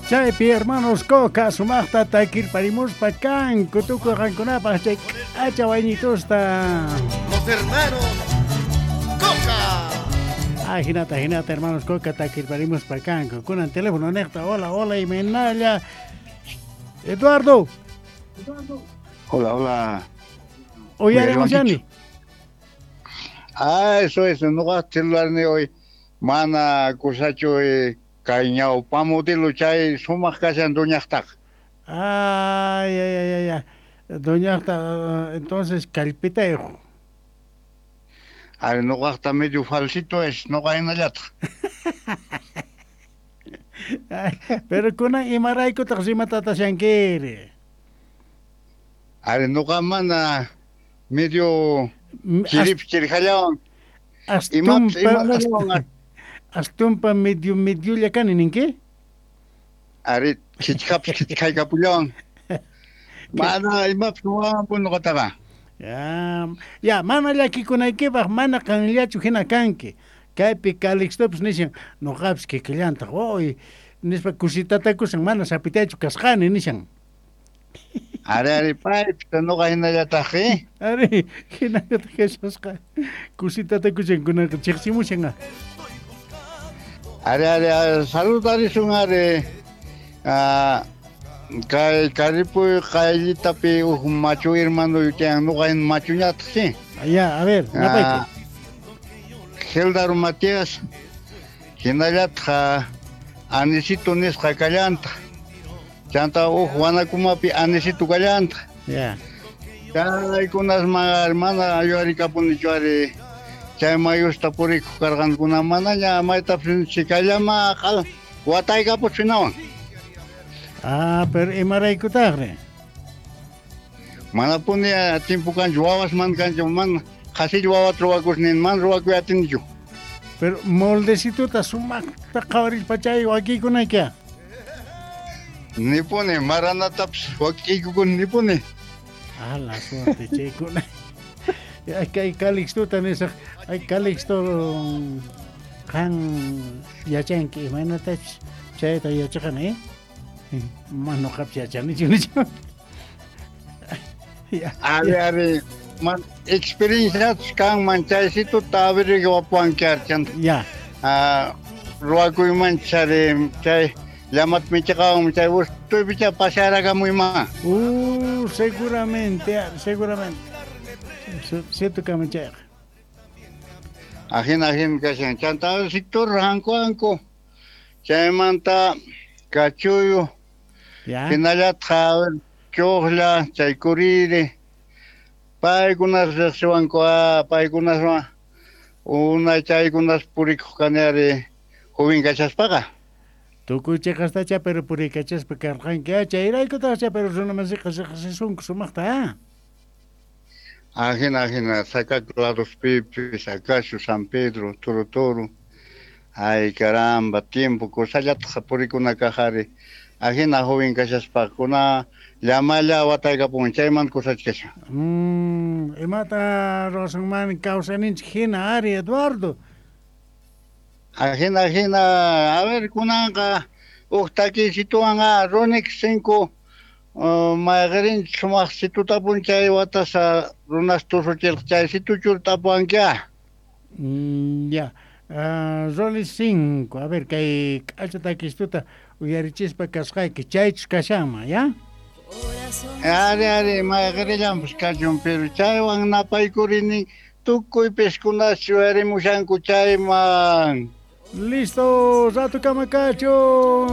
Chaypi hermanos Coca sumaqta takirparimuspa kanku tukuy qankunapaq chay k'acha wayñitusta. Los hermanos Coca. Ah, hinata, hinata, hermanos Coca takirparimuspa kanku. Kunan teléfono neqta, hola, hola, imaynalla. Eduardo. Hola, hola. Uyarimushani. Ah, eso es, noqa celular hoy mana kusachu kay ñawpa modelo chay sumaq kashan doñaqtaqa. Ay, ay, ay, ay, ay. Doñaqta, entonces kallpitayuq. Ay, noqaqta medio falsito es, noqa hinallataq. Pero kunan imaraykutaq rimatatashankiri. Ari noqa mana medio chirip chirjallawan. Astumpa, astumpa medio mediolla kani ninki? Ari chichkapis chichkaykapullawan. Mana imapis wampun noqataqa. Ya, ya, mana llakikunaykipaq mana qanllachu hina kanki. Kaypi Calixtopis nishan noqapis kikillantaq uy nispa kusitatakusan mana sapitaychu kasqani nishan. Ari, ari, paypis noqa hinallataq, eh? Ari, hinallataq Jesusqa kusitatakushan kunaqa chiqsimushan. Ari, ari, saludarisun ari. Kay Karipuy qayllitapi uj machu hermano yutiyan noqa hin machuñataq, sí. Ya, a ver, napayku. Geldaro Matías, hinallataq Anisito nisqa kallantaq. Chanta uj wanakumapi Anisito kallantaq. Ya. Chaykunasman mana yuyarikapunichu ari chay mayusta purikuq karqankuna manaña maytapis chikallama qal wataykapuchinawan. Ah, pero imaraykutaqri? Manapuni timpu kanchu wawasman kanchu mana qhasilla wawata ruwakusnin mana ruwakuy atinichu. Pero moldecituta sumaqta qhawarispa chay wakiykunayki. Nipuni maranatapis wakiykukuni nipuni. Ah, la suerte chaykuna. Kay Calixtuta nisaq, ay Calixto qan yachanki imaynatachus chayta yachaqani, eh? Mana noqapis yachanichu nichu. Ari, ari, man experienciatus kanman chaysituta averiguapuanki ari chanta. Ya. Ruwakuymanchis ari chay llamat michiqawan chay wustuypicha pasearakamuyman. Seguramente, ari, seguramente. Cierto kama chayqa. Ajina, ajina kashan. Chanta sector hanku hanku. Chaymanta kachuyu. Ya. Hinallataq chuqlla, chay kuriri. Paykunas riqsiwanku, paykunaswan unay chaykunas purikuq kani ari joven kashaspaqa. Tukuy chiqastacha pero purikachaspa karqanki, chayraykutaqcha pero runamasiqa riqsisunku sumaqta, ah. Ajina, ajina, Sacaco ladospipis, Acacio, San Pedro, Toro Toro. Ay, caramba, tiempo, kusallataq purikuna kaq ari. Ajina joven kashaspa, kuna llamalla wataykapun, chayman kusachkashan. Imata ruwasunman kawsayninchik hina ari, Eduardo? Ajina, ajina, a ver, kunanqa uj takiysituwan Ronex 5 mayqinchik sumaq situtapun chay watasa runas tusuchirqa chay situchur tapuwanki. Ya, Rolex 5, a ver, kay k'acha takistuta uyarichispa kasqayki chaychus kashanman, ya? Ari, ari, mayqinllanpis kachun, pero chaywan napaykurini tukuy piskunas yuyarimushanku chayman. Listo, rato kama kachun.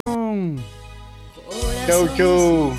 Chau, chau.